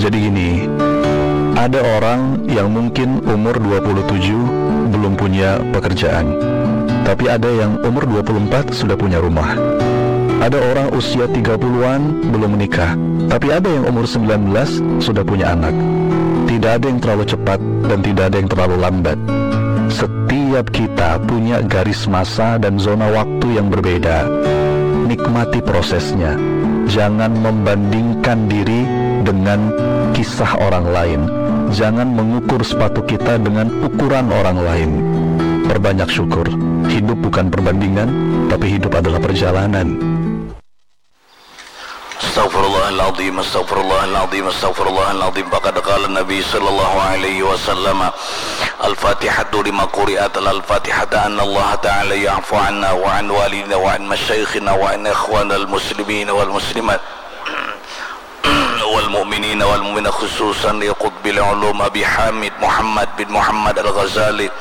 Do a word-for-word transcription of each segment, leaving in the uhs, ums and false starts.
Jadi gini, ada orang yang mungkin umur dua puluh tujuh belum punya pekerjaan. Tapi ada yang umur dua puluh empat sudah punya rumah. Ada orang usia tiga puluhan belum menikah. Tapi ada yang umur sembilan belas sudah punya anak. Tidak ada yang terlalu cepat dan tidak ada yang terlalu lambat. Setiap kita punya garis masa dan zona waktu yang berbeda. Nikmati prosesnya. Jangan membandingkan diri dengan kisah orang lain. Jangan mengukur sepatu kita dengan ukuran orang lain. Perbanyak syukur. Hidup bukan perbandingan, tapi hidup adalah perjalanan. Astaghfirullahaladzim, astaghfirullahaladzim, astaghfirullahaladzim. Faqad qala Nabi sallallahu alaihi wasallam, "Al-Fatihatu lima quri'at, al-Fatihata anna Allah Ta'ala ya'fu anna wa an walidina wa an masyayikhina wa an ikhwanal muslimin wal muslimat wal mu'minina wal mu'minat, khususan li Qutbil Ulum Abi Hamid Muhammad bin Muhammad Al-Ghazali,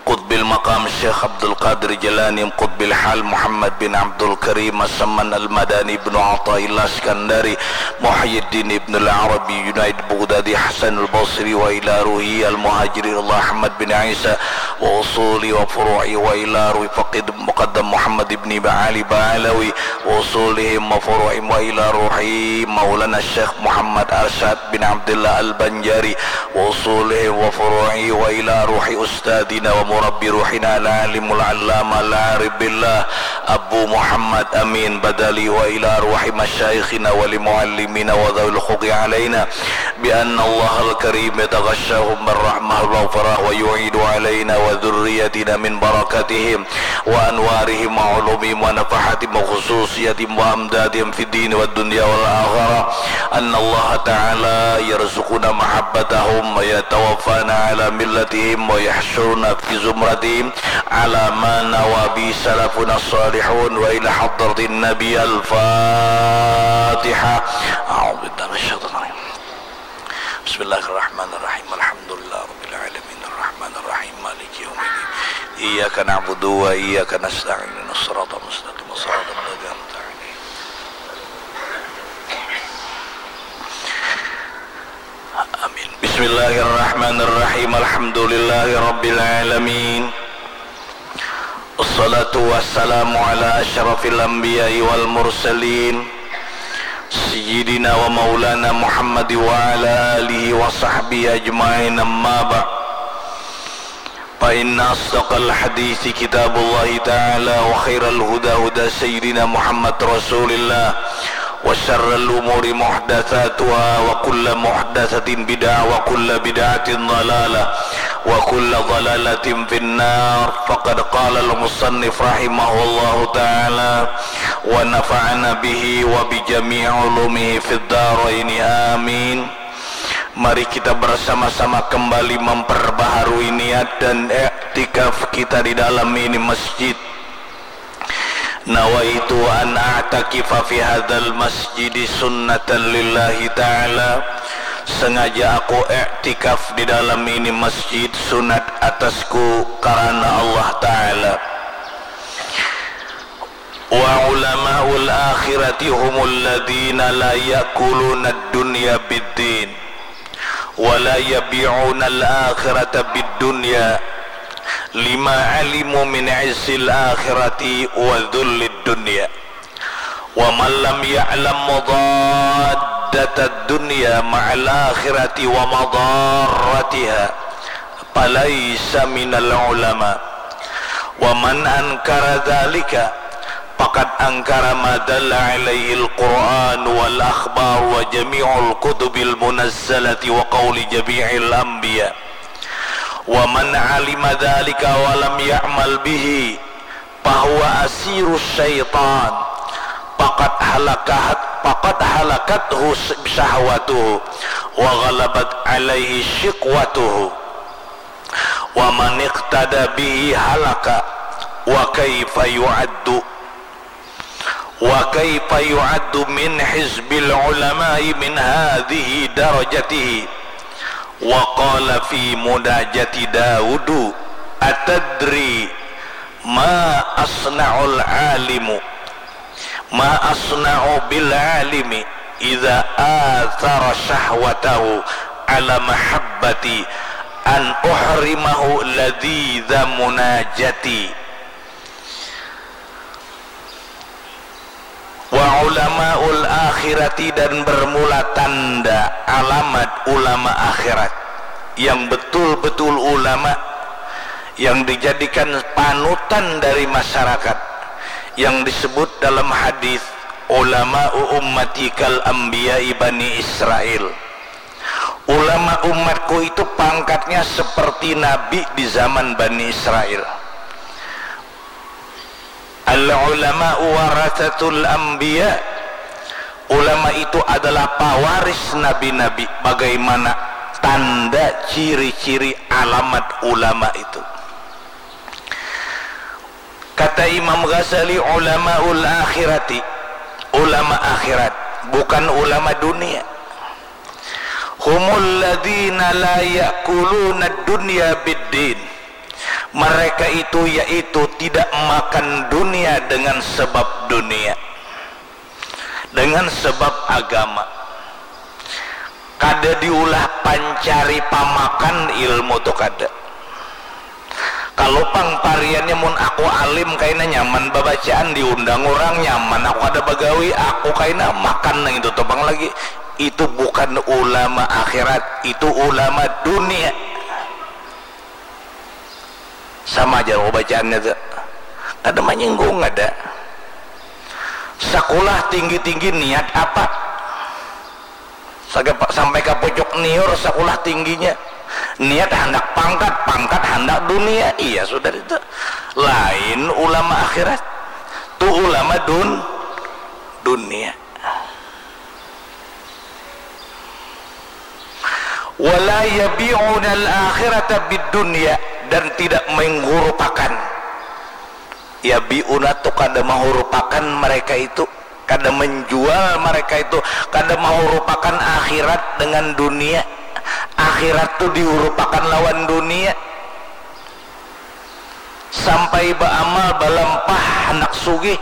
Qutbil Maqam Syekh Abdul Qadir Jalani, Qutbil Hal Muhammad bin Abdul Karim As-Samman Al-Madani, Ibnu Athaillah Iskandari, Muhyiddin Ibnu Al-Arabi, Junaid Bughdadi, Hasan Al-Basri, wa ila ruhi Al-Muhajiri Allah Ahmad bin Isa, wa usuli wa furu'i, wa ila ruhi Faqih Muqaddam Muhammad ibni Ali Ba'alawi, wa usulihim wa furu'ihim, wa ila ruhi Maulana Syekh Muhammad Arsyad bin Abdullah Al-Banjari, wa usulihim wa furu'ihim, wa ila ruhi Ustadina wa Murabbi ruhina Al-Alimul Allama Al-Arif Billah Abu Muhammad Amin Badali, wa ila ruhi masyayikhina wa li muallimina wa dhawil huquqi alaina, bi anna Allahal Karim yataghashahum bir rahmah wal maghfirah wa yu'idu alaina wa dhurriyatina min barakatihim wa anwarihim wa ulumihim wa nafahatihim wa khususiyatihim wa amdadihim fid dini wad dunya wal akhirah. Anna Allah Ta'ala yarzuquna mahabbatahum wa yatawaffana ala millatihim wa yahsyuruna fi zumratihim ala ma nawa bi salafuna salihun wa ila hadratin Nabi. Al-Fatihah. A'udzu billahi minasyaitonir rajim. Bismillahirrahmanirrahim. Alhamdulillah rabbil alamin. Arrahmanirrahim. Maliki yaumiddin. Iyyaka na'budu wa iyyaka nasta'in. Ihdinas siratal mustaqim. Siratal ladzina an'amta 'alaihim. Amin. Bismillahirrahmanirrahim. Alhamdulillahi rabbil alamin. Wassalatu wassalamu ala asyrafil anbiya'i wal mursalin, sayyidina wa maulana Muhammad wa ala alihi wa sahbihi ajma'in, amma ba'd. Fa inna asdaqal hadithi kitabullahi ta'ala, wa khairal huda huda sayyidina Muhammad rasulillah, wa syarral umuri muhdatsatuha, wa kulla muhdatsatin bid'ah, wa kulla bid'atin dalalah, wa kulla dalalatin finnar. Faqad qala al-musannif rahimahullahu ta'ala, wa nafa'ana bihi wa bi jami'i ulumihi fid daraini, amin. Mari kita bersama-sama kembali memperbaharui niat dan iktikaf kita di dalam ini masjid. Nawaitu an a'takifa fi hadzal masjidi sunnatan lillahi ta'ala. Sengaja aku iktikaf di dalam ini masjid sunat atasku karena Allah Ta'ala. Wa ulamaul akhirati humul ladzina la ya'kuluna ad-dunya bid-din wa la yabi'una al-akhirata bid-dunya lima alimu min izzil akhirati wa dhullid dunya. Wa man lam ya'lam mudaddad dunya ma'al akhirati wa madarratiha falaisa minal ulama. Wa man ankara dzalika faqad ankara ma dalla alaihi al-Qur'an wal akhbar wa jami'ul kutubil munazzalati wa qauli jami'il anbiya. Wa man alima dzalika wa lam ya'mal bihi fahuwa asiru syaitan. Faqad halakat, faqad halakathu syahwatuhu wa ghalabat alaihi syiqwatuhu. Wa man iqtada bihi halaka. Wa kaifa yu'addu, wa kaifa yu'addu min hizbil ulama'i min hadhihi darajatihi. Wa qala fi munajati Daudu, atadri ma asna'ul alimu, ma asna'u bil alimi, Idza atsara syahwatahu ala mahabbati an uhrimahu ladzidza munajati. Wa ulamaul akhirati, dan bermula tanda alamat ulama akhirat yang betul-betul ulama yang dijadikan panutan dari masyarakat yang disebut dalam hadis ulama ummati kal anbiya bani Israel. Ulama umatku itu pangkatnya seperti nabi di zaman Bani Israel. Al ulama warasatul anbiya. Ulama itu adalah pawaris nabi-nabi. Bagaimana tanda ciri-ciri alamat ulama itu? Kata Imam Ghazali, ulamaul akhirati, ulama akhirat, bukan ulama dunia. Humul ladzina la ya'kuluna dunya biddin. Mereka itu yaitu tidak makan dunia dengan sebab dunia, dengan sebab agama. Kada diulah pancari pamakan ilmu tu kada. Kalau pang pariannya mun aku alim kaina nyaman babacaan, diundang urang nyaman, aku kada bagawi, aku kaina makan nang itu tu pang lagi. Itu bukan ulama akhirat, itu ulama dunia. Sama ja bacaannya tu. Kada manyinggung ada. Sakulah tinggi-tinggi niat apa? Saga-, sampai ka pucuk niur sakulah tingginya. Niat handak pangkat, pangkat handak dunia. Iya sudah itu. Lain ulama akhirat. Tu ulama dun-, dunia. Wala yabi'unal akhirata bid dunya, dan tidak menghurupakan. Yabi'una tu kada mahurupakan mereka itu, kada menjual mereka itu, kada mahurupakan akhirat dengan dunia. Akhirat tu dihurupakan lawan dunia. Sampai baamal balampah handak sugih.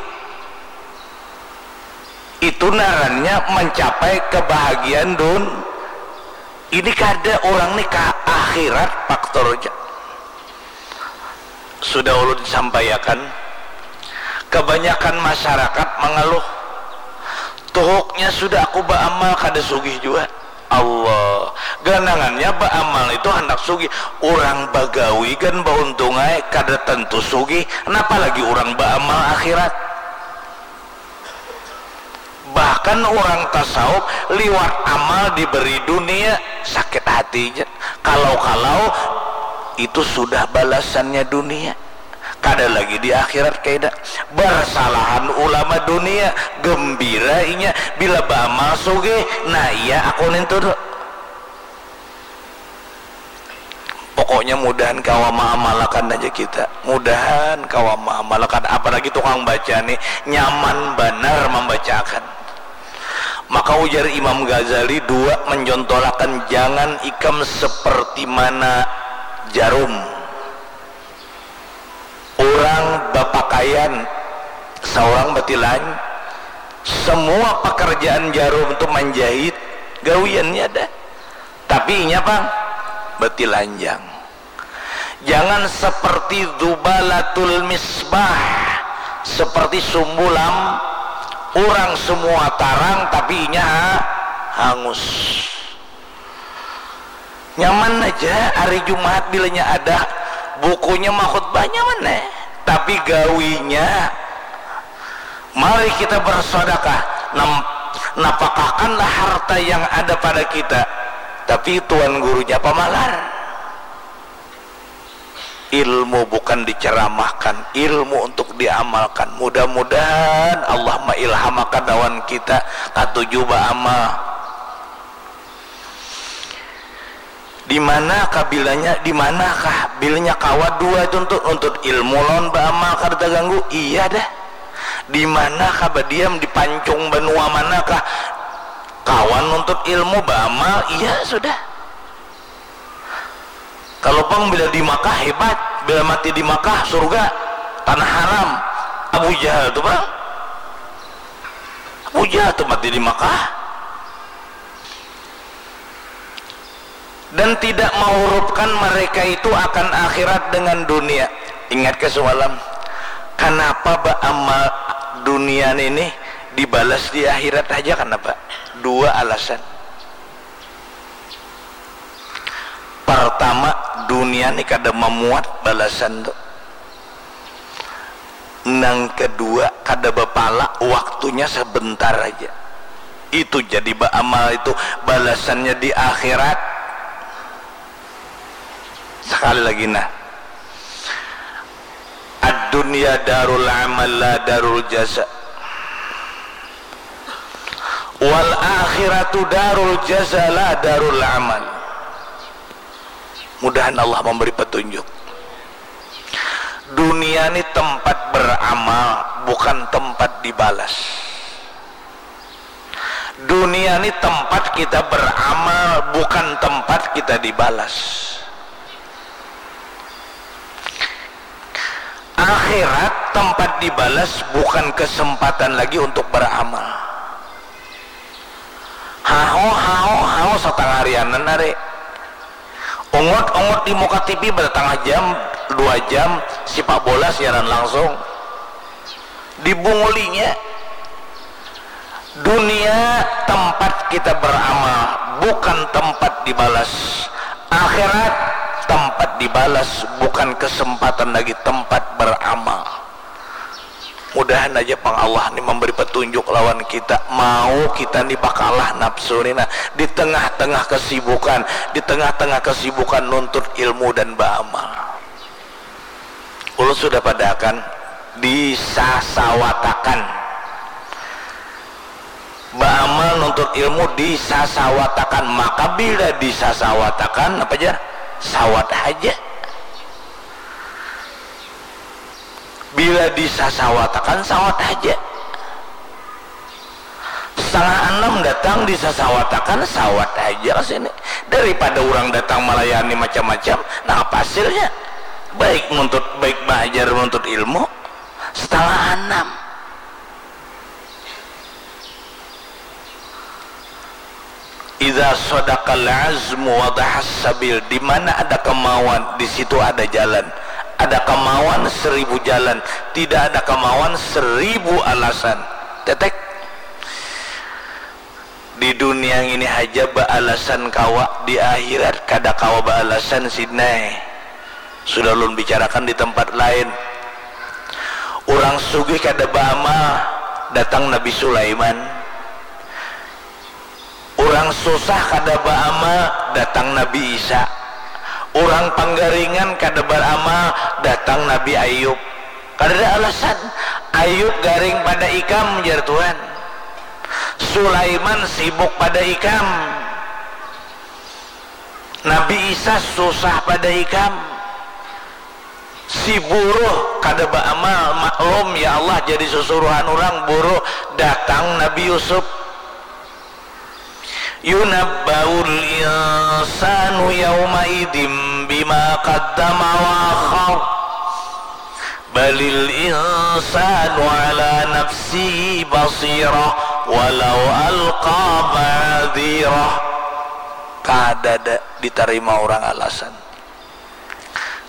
Itu narannya mancapai kebahagiaan dun-, ini kada, urang ni ka akhirat faktornya. Sudah ulun sampaiakan, kebanyakan masyarakat mangaluh, tuhuknya sudah aku baamal kada sugih jua. Allah, ganangannya baamal itu handak sugih. Urang bagawi gan bauntung ai kada tentu sugih, napa lagi urang baamal akhirat. Bahkan urang tasawuf liwat amal diberi dunia, sakit hatinya. Kalau-kalau itu sudah balasannya dunia. Kada lagi di akhirat kaina. Bersalahan ulama dunia, gembira inya bila baamal sugih, nah iya aku nintu tu. Pokoknya mudahan kawa maamalakan aja kita. Mudahan kawa maamalakan. Apalagi tukang baca nih, nyaman banar mambacaakan. Maka ujar Imam Ghazali dua mencontohakan, jangan ikam seperti mana jarum. Urang bapakaian, saurang batilan, semua pekerjaan jarum tu manjahit, gawiannya ada. Tapi inya pang batilanjang. Jangan seperti dzubalatul misbah, seperti sumbu lam-, urang semua tarang tapi inya ha-, hangus. Nyaman aja hari Jumat bilanya ada bukunya makhutbah, nyaman eh. Tapi gawinya, mari kita bersedekah, nam-, napakahkanlah harta yang ada pada kita. Tapi tuan gurunya pamalar. Ilmu bukan diceramahkan, ilmu untuk diamalkan. Mudah-mudahan Allah mailhamakan lawan kita katuju baamal. Di mana kah bilanya, di mana kah bilanya kawa dua itu untuk nuntut ilmu lawan baamal kada terganggu? Iya dah. Di mana kah badiam, di pancung banua mana kah kawa nuntut ilmu baamal? Iya sudah. Kalau pang bila di Makkah hebat, bila mati di Makkah surga, tanah haram. Abu Jahal tu pang. Abu Jahal tu mati di Makkah. Dan tidak mahurupkan mereka itu akan akhirat dengan dunia. Ingat ke semalam, kenapa beramal dunia ini dibalas di akhirat aja? Kenapa? Dua alasan. Pertama, dunia ini kada memuat balasan tu. Nang kedua, kada bapala, waktunya sebentar aja. Itu jadi beramal itu balasannya di akhirat. Sekali lagi nah, ad-dunya darul amal la darul jaza, wal akhiratu darul jaza la darul amal. Mudahan Allah memberi petunjuk. Dunia ni tempat beramal, bukan tempat dibalas. Dunia ni tempat kita beramal, bukan tempat kita dibalas. Akhirat tempat dibalas, bukan kesempatan lagi untuk beramal. Hao, hao, hao, satangah harianan ari. Ungut-ungut di muka T V bertangah jam, dua jam, sipak bola siaran langsung. Dibungulinya. Dunia tempat kita beramal, bukan tempat dibalas. Akhirat tempat dibalas, bukan kesempatan lagi, tempat beramal. Mudahan aja pang Allah ni memberi petunjuk lawan kita, mau kita ni bakalah nafsu ni nah, di tengah-tengah kesibukan, di tengah-tengah kesibukan nuntut ilmu dan beramal. Ulun sudah padahakan, disasawatakan. Baamal nuntut ilmu disasawatakan, maka bila disasawatakan apa jar? Sawat haja. Bila disasawatakan sawat haja. Setengah anam datang disasawatakan sawat haja ka sini. Daripada urang datang malayani macam-macam, nang apa hasilnya? Baik nuntut, baik baajar nuntut ilmu, setengah anam. Idza shadaqal azmu wadahas sabil, di mana ada kemauan, di situ ada jalan. Ada kemauan seribu jalan, tidak ada kemauan seribu alasan. Tetek. Di dunia ini haja baalasan kawa, di akhirat kada kawa baalasan sidnai. Sudah ulun bicarakan di tempat lain. Urang sugih kada baamal, datang Nabi Sulaiman. Urang susah kada baamal, datang Nabi Isa. Urang panggaringan kada baramal, datang Nabi Ayub. Kadada alasan. Ayub garing pada ikam, jar Tuhan. Sulaiman sibuk pada ikam. Nabi Isa susah pada ikam. Si buruh kada baamal, maklum ya Allah jadi susuruhan urang buruh, datang Nabi Yusuf. Yunabbaul insanu yaumaidin bima qaddama wa akhar. Balil insanu ala nafsihi basirah walau alqa ma'dzirah. Kadada ditarima urang alasan.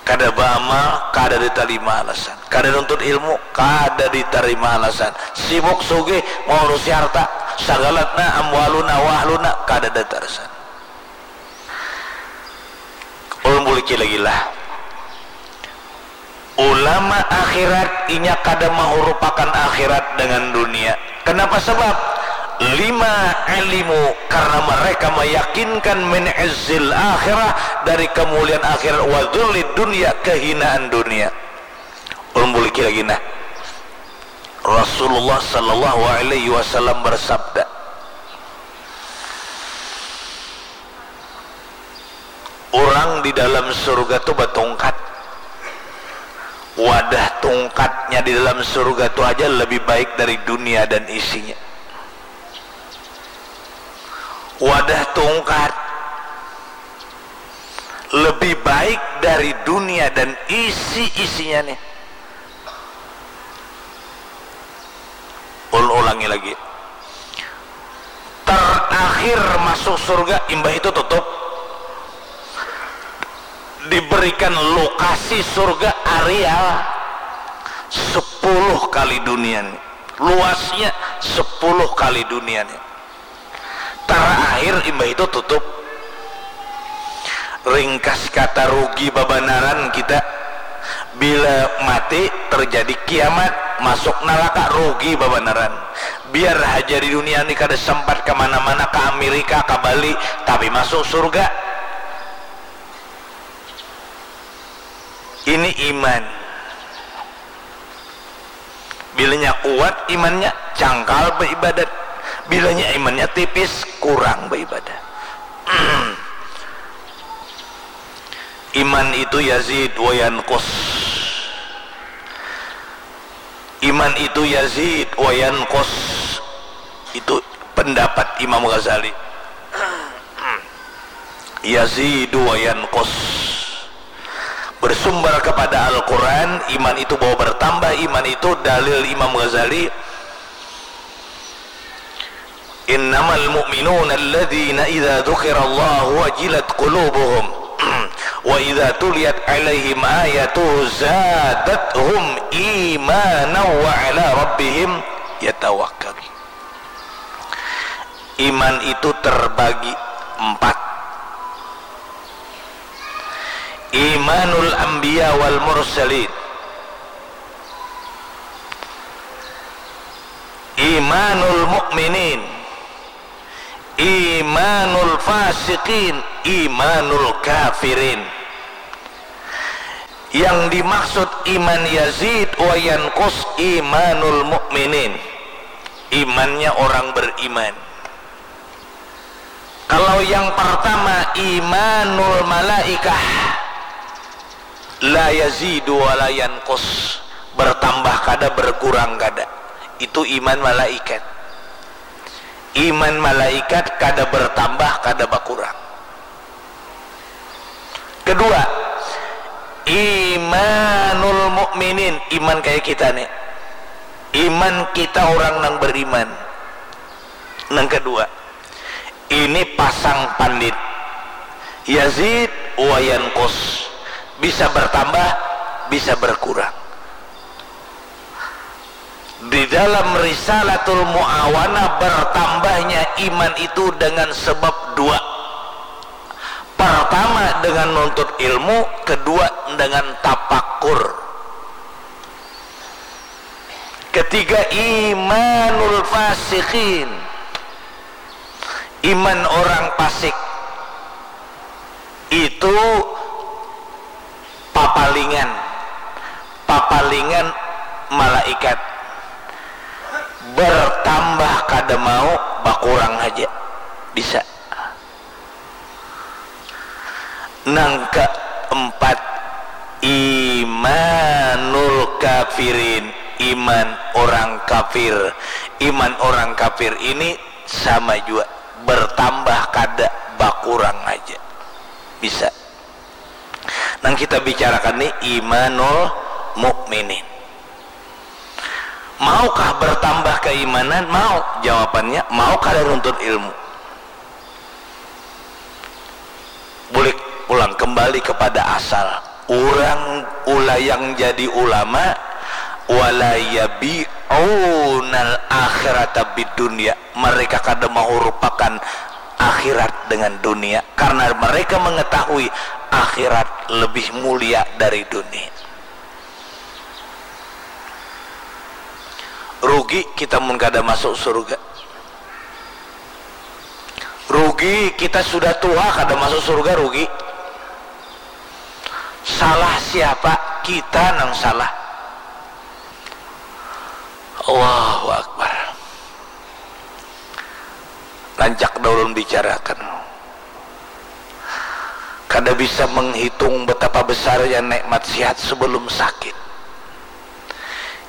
Kada baamal, kada ditarima alasan. Kada nuntut ilmu, kada ditarima alasan. Sibuk sugih, maurusi harta, sagalatna, amwaluna, wahluna, kada datarasan. Ulun buliki lagi lah. Ulama akhirat, inya kada mahurupakan akhirat dengan dunia. Kenapa sebab? Lima alimu, karena mereka meyakinkan min izzil akhirah, dari kemuliaan akhirat, wa dzulli dunia, kehinaan dunia. Ulun buliki lagi nah. Rasulullah sallallahu alaihi wasallam bersabda, orang di dalam surga tu batungkat. Wadah tungkatnya di dalam surga tu aja lebih baik dari dunia dan isinya. Wadah tungkat lebih baik dari dunia dan isi-isinya nih. Ul-, ulangi lagi. Terakhir masuk surga, imbah itu tutup. Diberikan lokasi surga areal sepuluh kali dunia ni, luasnya sepuluh kali dunia ni. Terakhir imbah itu tutup. Ringkas kata, rugi babanaran kita. Bila mati, terjadi kiamat, masuk neraka, rugi babanaran. Biar haja di dunia ni kada sempat kemana-mana, ke Amerika, ke Bali, tapi masuk surga. Ini iman. Bilanya kuat imannya, cangkal beribadat. Bilanya imannya tipis, kurang beribadat. Iman itu yazid wa yanqus. Iman itu yazid wa yanqus. Itu pendapat Imam Ghazali. Yazidu wa yanqus. Bersumber kepada Al-Quran, iman itu bahwa bertambah, iman itu dalil Imam Ghazali, "Innamal mu'minuna alladzina idza dzukirallahu wajilat qulubuhum wa idza tuliyat alaihim ayatuhu zadathum imanan wa ala rabbihim yatawakkalun." Iman itu terbagi empat. Imanul anbiya wal mursalin, imanul mu'minin, imanul fasiqin, imanul kafirin. Yang dimaksud iman yazid wa yanqus imanul mu'minin, imannya orang beriman. Kalau yang pertama, imanul malaikah, la yazidu wa la yanqus, bertambah kada, berkurang kada. Itu iman malaikat. Iman malaikat kada bertambah, kada berkurang. Kedua, imanul mu'minin, iman kayak kita nih. Iman kita orang nang beriman. Nang kedua, ini pasang pandit. Yazid wa yanqus. Bisa bertambah, bisa berkurang. Di dalam Risalatul Muawanah, bertambahnya iman itu dengan sebab dua. Pertama dengan nuntut ilmu, kedua dengan tapakur. Ketiga, imanul fasiqin, iman orang pasik. Itu papalingan, papalingan malaikat. Bertambah kada mau, bakurang aja bisa. Nang keempat, imanul kafirin, iman orang kafir. Iman orang kafir ini sama jua, bertambah kada, bakurang aja bisa. Nang kita bicarakan ni imanul mukminin. Maukah bertambah keimanan? Mau. Jawabannya, mau kada nuntut ilmu. Bulik pulang kembali kepada asal. Urang ulayang jadi ulama, wala yabi'unal akhirata bidunya. Mereka kada mahurupakan akhirat dengan dunia, karena mereka mengetahui akhirat lebih mulia dari dunia. Rugi kita mun kada masuk surga. Rugi kita sudah tua kada masuk surga, rugi. Salah siapa? Kita nang salah. Allahu Akbar. Rancak dah ulun bicarakan. Kada bisa menghitung betapa besarnya nikmat sehat sebelum sakit.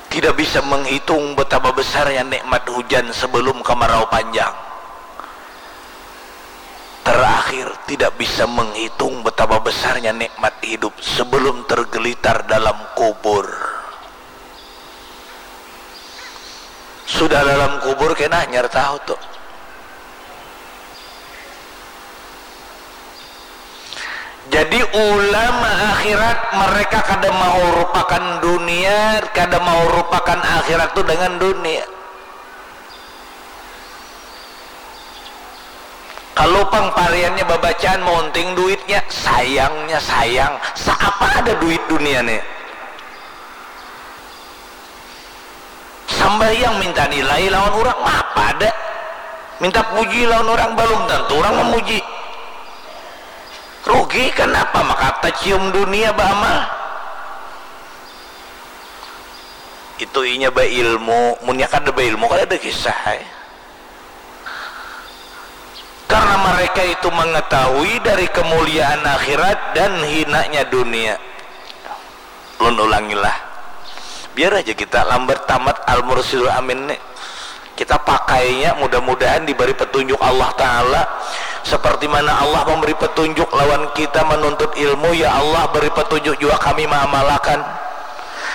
Tidak bisa menghitung betapa besarnya nikmat hujan sebelum kemarau panjang. Terakhir, tidak bisa menghitung betapa besarnya nikmat hidup sebelum tergelitar dalam kubur. Sudah dalam kubur kena hanyar tahu tuh. Jadi ulama Akhirat, mereka kada mau rupakan dunia, kada mau rupakan akhirat tu dengan dunia. Kalau pang pariannya babacaan, maunting duitnya, sayangnya sayang, saapa ada duit dunia ni. Sambahyang minta nilai lawan urang, maapa ada. Minta puji lawan urang, balum tantu urang mamuji. Rugi, kanapa maka tacium dunia baamal? Itu inya bailmu, munnya kada bailmu, kada ada kisah ai. Karena mereka itu mengetahui dari kemuliaan akhirat dan hinanya dunia. Lun ulangilah. Biar aja kita lambat tamat Al-Mursyidul Amin ni. Kita pakainya, mudah-mudahan diberi petunjuk Allah Ta'ala. Seperti mana Allah memberi petunjuk lawan kita menuntut ilmu, ya Allah, beri petunjuk juga kami mengamalkan.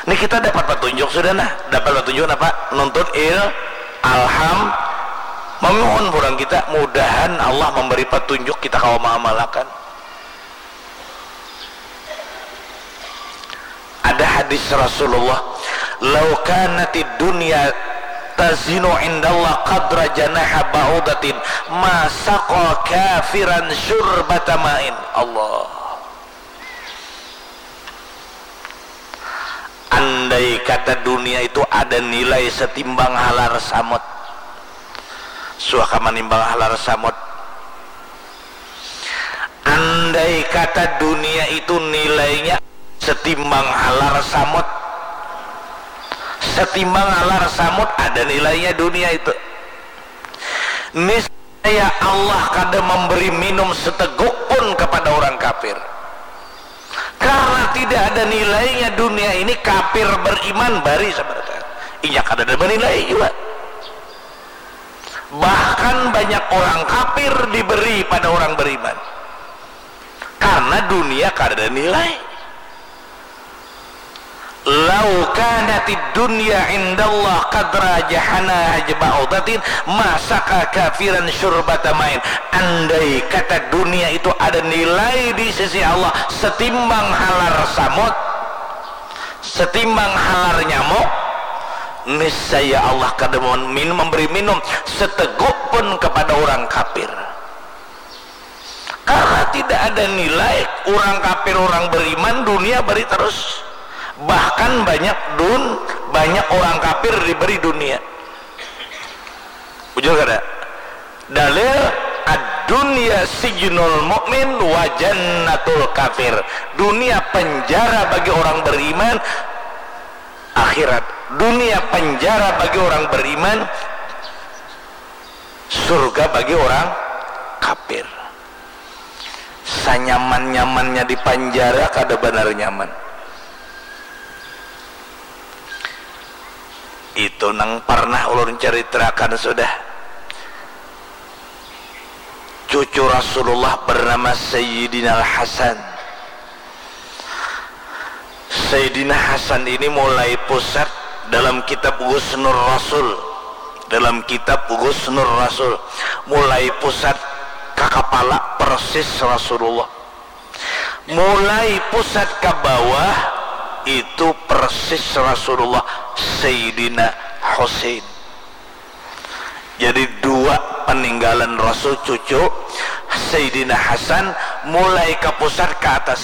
Ini kita dapat petunjuk sudah, nah. Dapat petunjuk apa? Nuntut il-, alham-, memohon kurang kita, mudahan Allah memberi petunjuk kita kawa mengamalkan. Ada hadis Rasulullah, "Lau kanatid dunya tazinu indallah qadra janaha ba'udatin, ma saqa kafiran syurbata ma'in." Allah. Andai kata dunia itu ada nilai setimbang halar samut. Suaka manimbang halar samut. Andai kata dunia itu nilainya setimbang halar samut, setimbang halar samut ada nilainya dunia itu. Niscaya Allah kada memberi minum seteguk pun kepada orang kafir. Karena tidak ada nilainya dunia ini, kafir beriman bari sabarata. Inya kada ada menilai juga. Bahkan banyak orang kafir diberi pada orang beriman. Karena dunia kada ada nilai. "Lau kanatid dunya indallah qadra jahana ba'udatin, ma saqa kafiran syurbata ma'in." Andai kata dunia itu ada nilai di sisi Allah setimbang halar samut, setimbang halar nyamuk, niscaya Allah kada min-, memberi minum seteguk pun kepada orang kafir. Karena tidak ada nilai, orang kafir, orang beriman, dunia bari terus. Bahkan banyak dun-, banyak orang kafir diberi dunia. Bujur kada? Dalil, "Ad-dunya sijnul mu'min wa jannatul kafir." Dunia penjara bagi orang beriman, akhirat. Dunia penjara bagi orang beriman, surga bagi orang kafir. Sanyaman-nyamannya di panjara kada banar nyaman. Itu nang parnah ulun caritarakan sudah. Cucu Rasulullah bernama Sayyidina Al-Hasan. Sayyidina Hasan ini mulai pusat dalam kitab Ghusnur Rasul. Dalam kitab Ghusnur Rasul, mulai pusat ka kapala persis Rasulullah. Mulai pusat ka bawah itu persis Rasulullah, Sayyidina Husain. Jadi dua peninggalan Rasul, cucu Sayyidina Hasan, mulai ka pusat ka atas.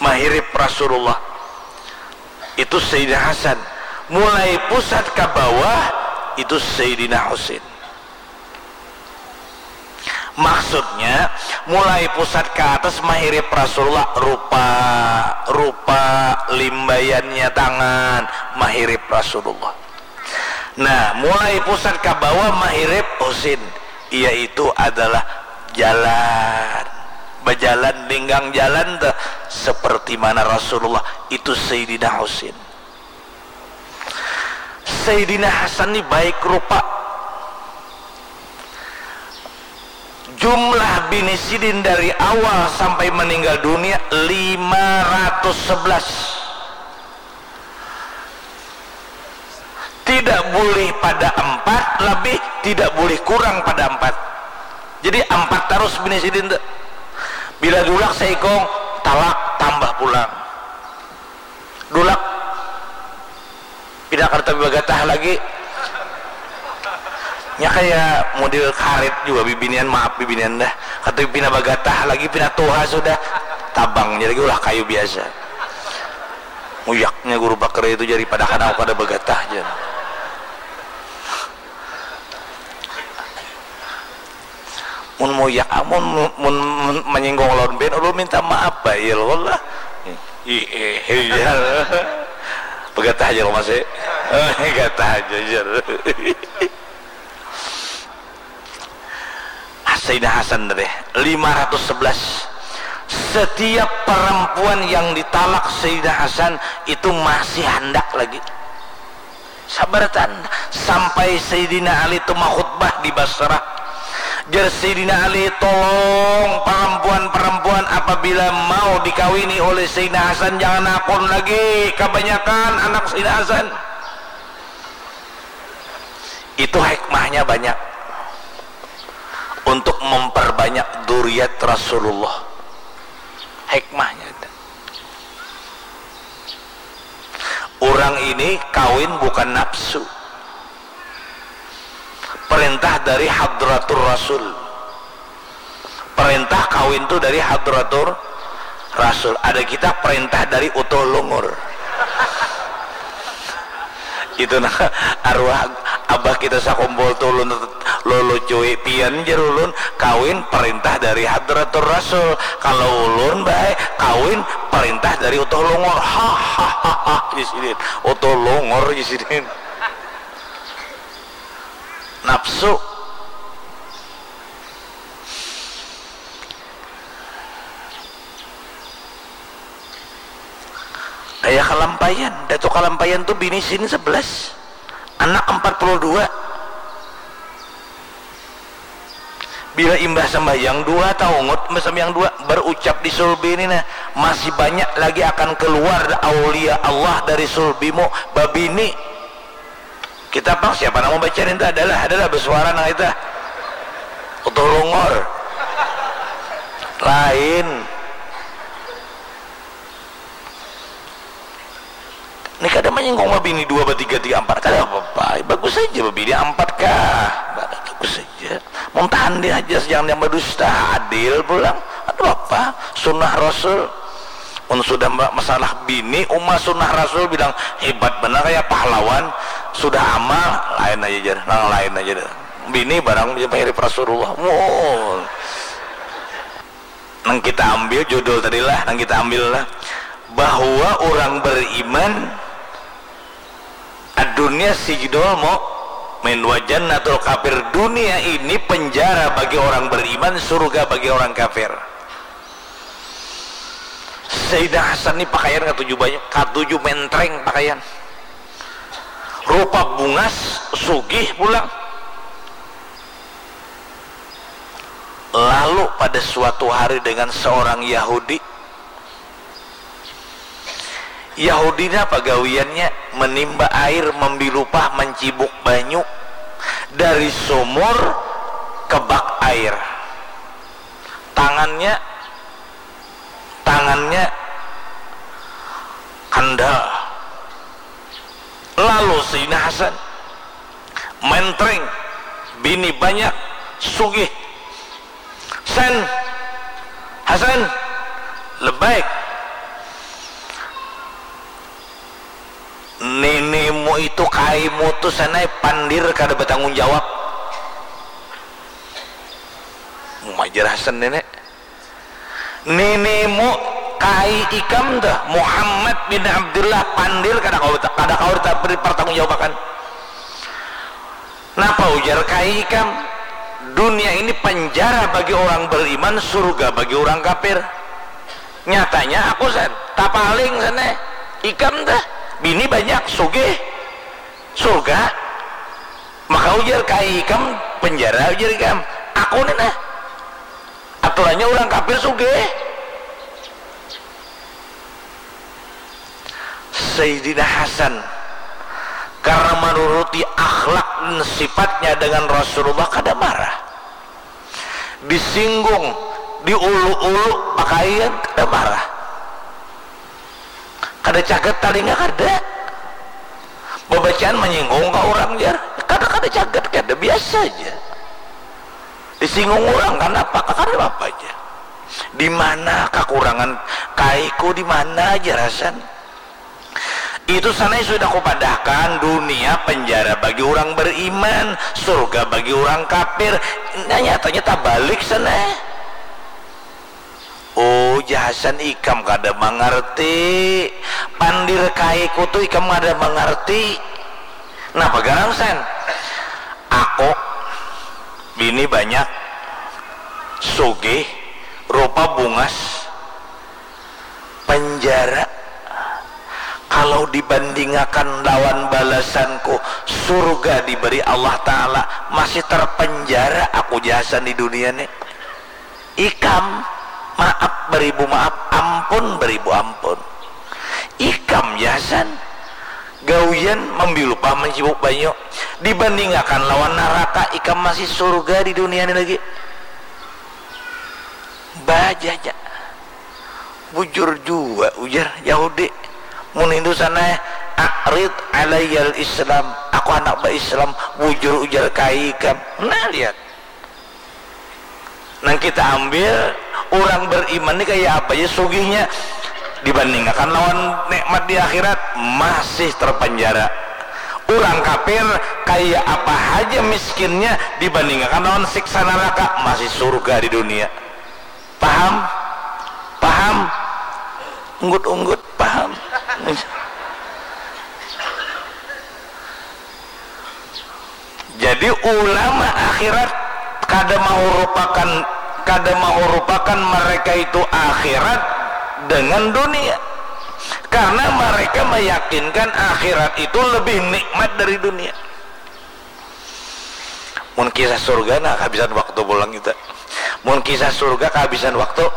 Mahirip Rasulullah itu Sayyidina Hasan. Mulai pusat ka bawah itu Sayyidina Husain. Maksudnya, mulai pusat ka atas mahirip Rasulullah, rupa, rupa, limbaiannya tangan, mahirip Rasulullah. Nah, mulai pusat ka bawah mahirip Husain, yaitu adalah jalan. Bajalan, linggang jalan tuh, seperti mana Rasulullah, itu Sayyidina Husain. Sayyidina Hasan ni baik rupa. Jumlah bini sidin dari awal sampai meninggal dunia lima ratus sebelas. Tidak boleh pada empat, lebih tidak boleh kurang pada empat. Jadi empat terus bini sidin tuh. Bila dulak seikung, Talak tambah pulang. Dulak pina kada tapi bagatah lagi. Nya kaya model karet jua bibinian, maaf bibinian dah. Kada tapi pina bagatah lagi, pina tuha sudah. Tabangnya lagi ulah kayu biasa. Muyaknya guru bakar itu jadi, padahal aku kada bagatah jar. Mun muyak, mun, mun, mun manyinggung lawan bin, ulun minta maaf bae, ya Allah. Ih, eh, eh, ya. Pegatah aja lo masih. Pegatah aja, jar. Sayyidina Hasan tadi, lima ratus sebelas. Setiap perempuan yang ditalak Sayyidina Hasan itu masih handak lagi. Sabaratan sampai Sayyidina Ali tu makhutbah di Basrah. Jar Sayyidina Ali, "Tolong, perempuan-perempuan apabila mau dikawini oleh Sayyidina Hasan, jangan akun lagi, kebanyakan anak Sayyidina Hasan." Itu hikmahnya banyak. Untuk memperbanyak duriat Rasulullah. Hikmahnya ada. Orang ini kawin bukan nafsu. Perintah dari Hadratur Rasul. Perintah kawin tu dari Hadratur Rasul. Ada kita perintah dari Utuh Lungur. Itu nah, arwah abah kita sakumpul tu ulun lulucui, "Pian," jar ulun, "kawin perintah dari Hadratur Rasul. Kalau ulun bae kawin perintah dari Utuh Longor." Hahaha, jisidin. Utuh Longor, jisidin. Nafsu. Kaya Kalampayan, Datuk Kalampayan tu bini sin sebelas, anak empat puluh dua. Bila imbah sambahyang dua, taungut imbah sambahyang dua, berucap di sulbi ni nah, "Masih banyak lagi akan keluar aulia Allah dari sulbimu, babini." Kita pang siapa nang membaca ninta? Adalah, adalah bersuara nang itu. Utuh Longor. Lain. Ini kada menyinggung babini dua, batiga, tiga, empat, kada apa-apa. Bagus saja babini empat kah. Bagus saja. Muntahan dia aja, jangan yang berdusta. Adil pulang. Ada apa? Sunnah Rasul. Mun sudah masalah bini, uma sunnah Rasul bilang hebat benar kayak pahlawan. Sudah amal, lain aja jar. Nang lain aja dah. Bini barang mirip Rasulullah. Wow. Nang kita ambil judul tadi lah, nang kita ambil lah. Bahwa orang beriman, ad-dunya sijnul mu'min wa jannatul kafir. Dunia ini penjara bagi orang beriman, surga bagi orang kafir. Sayyidina Hasan ni pakaian katuju banyak, katuju mentreng pakaian. Rupa bungas, sugih pulang. Lalu pada suatu hari dengan seorang Yahudi, Yahudi ni apa gawiannya? Menimba air, membilupa, mencibuk banyu dari sumur ke bak air. Tangannya, tangannya kandal. Lalu Sayyidina Hasan, mentreng, bini banyak, sugih. "San, Hasan, lebaik. Ninimu itu kaimu tu sanai pandir kada bertanggung jawab." Majar Hasan nenek. "Ninimu kai ikam tuh, Muhammad bin Abdullah, pandir kada kau, kada kau pertanggung jawabakan." "Napa?" ujar kai ikam. "Dunia ini penjara bagi orang beriman, surga bagi orang kafir. Nyatanya aku san, tapaling sana. Ikam tuh, bini banyak, sugih, surga. Maka ujar kai ikam, penjara ujar ikam. Aku nih nah." Aturannya orang kafir sugih. Sayyidina Hasan karena menuruti akhlak dan sifatnya dengan Rasulullah kada marah. Disinggung, diulu-ulu pakaian kada marah. Kada cagat talinga kada. Babacaan manyinggung ka urang jar. Kada, kada cagat kada, biasa aja. Disinggung urang kanapa? Kada apa-apa aja. Di mana kakurangan kaiku, di mana aja rasan. Itu sana sudah kupadahkan, dunia penjara bagi orang beriman, surga bagi orang kafir. Nah, nyatanya tabalik sana. Oh, jahasan ikam kada mangarti. Pandir kaiku tu ikam kada mangarti. Napa garang san? Aku bini banyak, sugih, rupa bungas, penjara. Kalau dibandingakan lawan balasanku, surga diberi Allah Ta'ala, masih terpenjara aku jahasan di dunia ni. Ikam, maaf beribu maaf, ampun beribu ampun. Ikam jahasan, gawian mambilupa mancibuk banyu. Dibandingakan lawan naraka, ikam masih surga di dunia ni lagi. Bajaja. Bujur jua ujar Yahudi. Mun Hindu sana, "A'rid alayyal Islam." Aku handak ba-Islam. Bujur ujar ka ikam. Nah, lihat. Nang kita ambil, urang beriman ni kaya apa ja sugihnya, dibandingakan lawan nikmat di akhirat, masih terpenjara. Urang kafir, kaya apa haja miskinnya, dibandingakan lawan siksa naraka, masih surga di dunia. Paham? Paham? Unggut-unggut, paham? Jadi ulama akhirat kada mahurupakan, kada mahurupakan mereka itu akhirat dengan dunia. Karena mereka meyakinkan akhirat itu lebih nikmat dari dunia. Mun kisah surga, nah, kehabisan waktu pulang kita. Mun kisah surga, kehabisan waktu.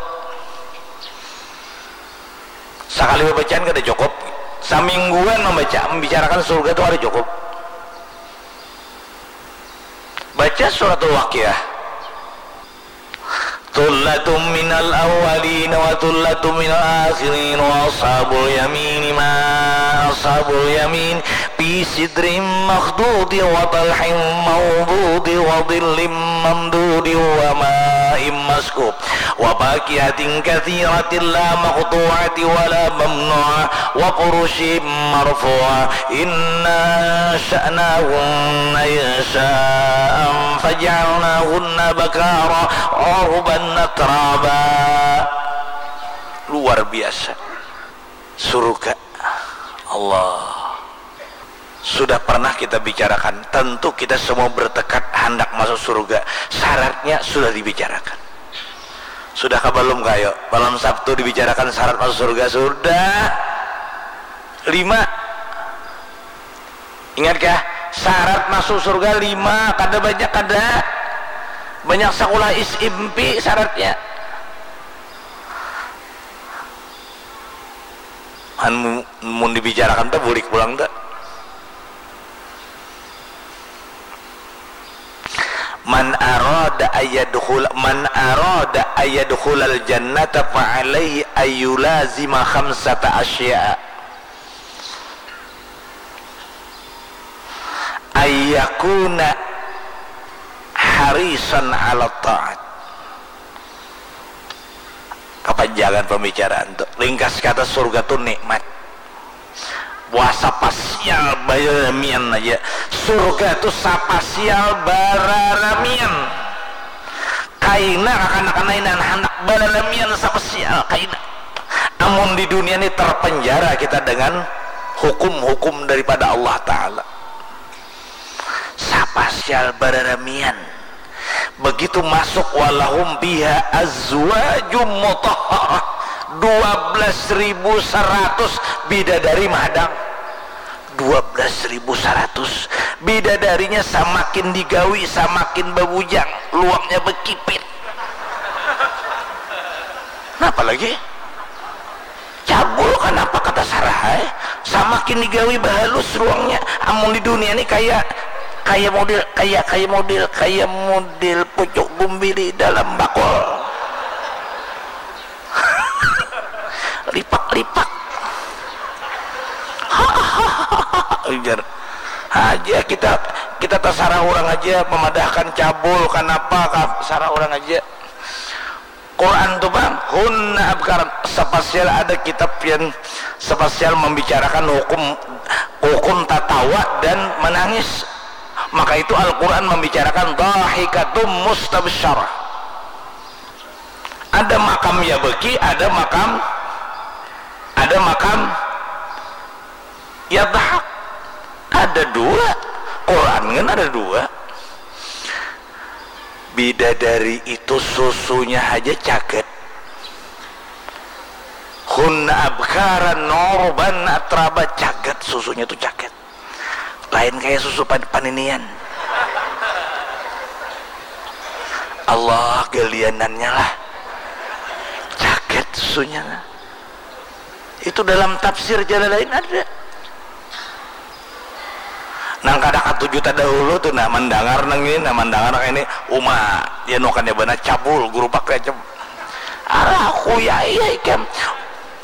Sakali bacaan kada cukup. Samingguan membaca, membicarakan surga tu kada cukup. Baca suratul Waqiah. Thullatun minal awwalin wa thullatun minal akhirin wa ashabul yamini ma ashabul yamin fi sidrin makhdudin wa talhin mawdudin wa dhillin mamdudin wa ma'in maskub wa fakihatin katsiratin la maqtu'atin wa la mamnu'ah wa furushin marfu'ah. Inna ansha'nahunna insha'an faja'alnahunna abkara urban atraba. Luar biasa. Surga. Allah. Sudah pernah kita bicarakan, tentu kita semua bertekad handak masuk surga. Syaratnya sudah dibicarakan. Sudah kah belum, kayo? Malam Sabtu dibicarakan syarat masuk surga. Sudah. Lima. Ingat kah? Syarat masuk surga lima. Kada banyak, kada. Banyak sekolah is impi syaratnya. Anu, mun dibicarakan tuh bulik pulang tuh. Man arada ayadkhul, man arada ayadkhulal jannata fa alaihi ayulazima khamsata asya'a. Ayyakuna harisan ala ta'at. Kapanjangan pembicaraan tu. Ringkas kata, surga tu nikmat. Wah, sapasial bararamian aja. Surga tu sapasial bararamian. Kaina kakanak-kanak nang handak bararamian sapasial, kaina. Amun di dunia ni terpenjara kita dengan hukum-hukum daripada Allah Ta'ala. Sapasial bararamian. Begitu masuk, walahum fiha azwajum mutahharah, dua belas ribu seratus bidadari mahadang. Dua belas ribu seratus. Bidadarinya samakin digawi, samakin babujang, luaknya bekipit. Napa lagi? Cabul kanapa kata Sarah ai? Samakin digawi bahalus ruangnya. Amun di dunia ni kaya, kaya model, kaya, kaya model, kaya model pucuk gumbili dalam bakul. Lipak-lipak. Ya, kita kita tasarah urang aja memadahkan cabul kanapa kah, sarah urang aja. Quran tu bang, hunna abkaran, sapasial ada kitab yang sapasial membicarakan hukum hukum tatawa dan menangis. Maka itu Al-Quran membicarakan dahikatum mustabsyarah. Ada makam yabki, ada makam ada makam yadhak. Ada dua. Quran kan ada dua. Bidadari itu susunya haja cagat. Hunna abkaran urban atraba, cagat, susunya tu cagat. Lain kaya susu pan- paninian. Allah, galianannya lah. Cagat susunya lah. Itu dalam tafsir Jalalain ada. Nang kada katuju tadahulu tu nah mandangar nang ini, nah mandangar nang ini, uma, ya nukannya bana cabul, gurupak aja. Arah aku ya iya ikam.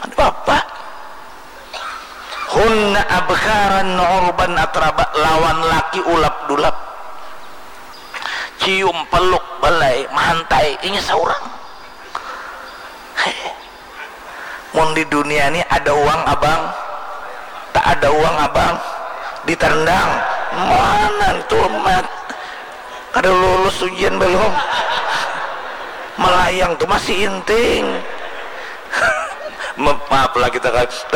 Ada apa? Hunna abkaran urban atraba, lawan laki ulap dulap. Cium peluk balai mahantai inya saurang. Mun di dunia ni ada uang abang, tak ada uang abang ditendang. Mana tu mat? Kada lulus ujian belum. Melayang tu masih inting. Ma- maaf lah kita kan, kita